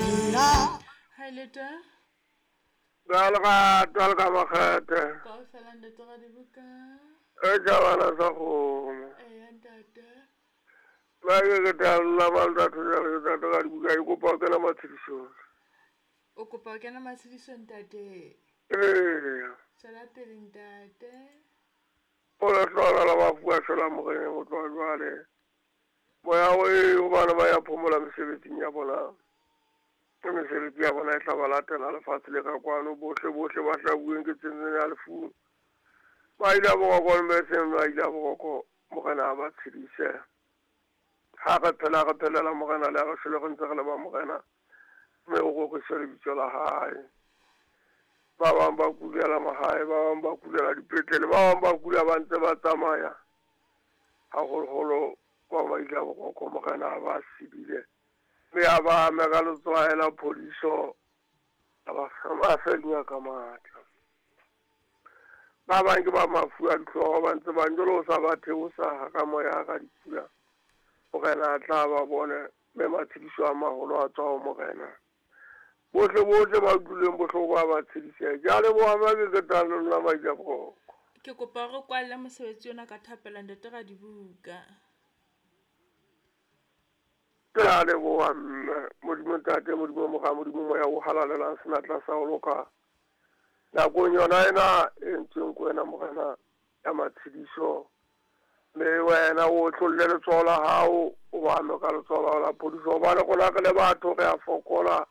Hi leta. Ka lerato le ka makgethe. Kaofela ntate Radibuka. E tšabana sa kgomo. Eya ntate. Ba ke ke talla ba ntate jale ntate Radibuka ke kopa ho kena matshedisong. O kopa ho kena matshedisong ntate. Ee. Tswela pele ntate. O le hlola la bafu ba shwela moreneng ho tloha jwale. Moya o e hobane ba ya phomola mesebetsing ya bona. Mesebetsi ya bona e tla ba latela lefatshe le ka kwano bohle bohle ba hlabuweng ke tsentseng ya lefung. Ba ile boroko le seng ba ile boroko morena a ba tshedise. Ha re phela re phelela morena le ha re shwele re ntse re le ba morena. Mme o roriswe lebitso la hae. Ba bang ba kulela mahae, ba bang ba kulela dipetlele, ba bang ba kula ba ntse ba tsamaya. Haholoholo ba ba ile boroko morena a ba sebile. Mme a ba ame ka letswae la phodiso, a ba fenya ka matla. Ba bang ke ba mafu a dihlooho ba ntse ba njolo o sa ba theosa ka moya ka dipula. Morena a tla ba bone mme matshediso a maholo a tswa ho morena. Bohle bohle ba utlwileng bohloko ba ba tshedise. Ke a leboha mme ke ketang le lona Maija Boroko. Ke kopa re kwalle mosebetsi ona ka thapelo ntate Radibuka. Ke a leboha mme Modimo ntate, Modimo mora, Modimo moya o halalelang senatla sa ho loka. Nakong yona ena e entsweng ke wena morena ya matshediso. Mme wena o tlolle letsoho la hao, o ba ame ka letsoho la hao la phodiso. Hobane rona re le batho re a fokola.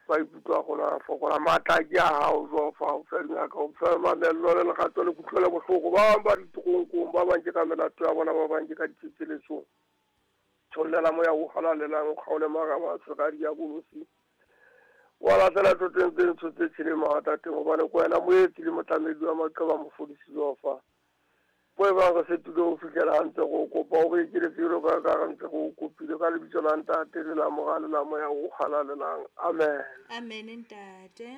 Maikutlo a rona a fokola. Matla ke a hao Jehova, o fe dingaka, o fe mamello le lerato le kutlwelo bohloko. Ba bang ba ditoronkong, ba bang ke ka melato ya bona, ba bang ke ka ditsetseletsong. Tshollela moya o halalelang, o kgaole maraba a tshwere a diabolosi. Wa latela thoteng tse ntsho tse tjheleng mawatateng, hobane ke wena moetsi le motlamedi wa maqeba mofodisi Jehova. Bo e bang re setile ho fihlela ha ntse re o kopa, o re ekeletse jwalo ka ka re ntse re o kopile ka lebitso la Ntate le la Mora le la Moya o halalelang. Amen. Amen ntate.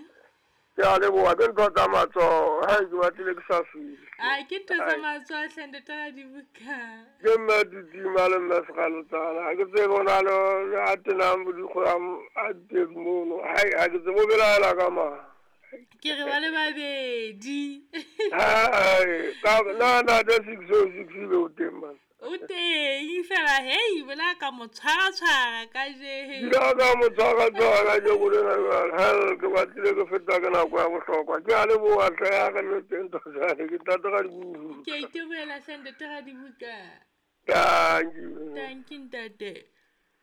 Ke a leboha, ke ntho tsa matsoho. Hai, ke batlile ke sa fihle. A ke ntho tsa matsoho hle ntate Radibuka. Ke mme Didima le mme Sekgalotsana. Ha ke tsebe ho na le a tenang bodikgwe a ditedu mono. Hai, ha ke tsebe o belaela ka mang. Ke re ba le babedi. Hai, ka na na the 606 be o teng man. O teng fela hei bola ka mo tshwara ka je. Ke ka mo tshwara tshwara ka je go lena jwale. Hell, ke batlile ke feta ke nako ya bohlokwa. Ke a leboha hle ya re le teng tota. Ke ntate Radibuka. Ke a itebohela hle ntate Radibuka. Thank you. Thank you ntate.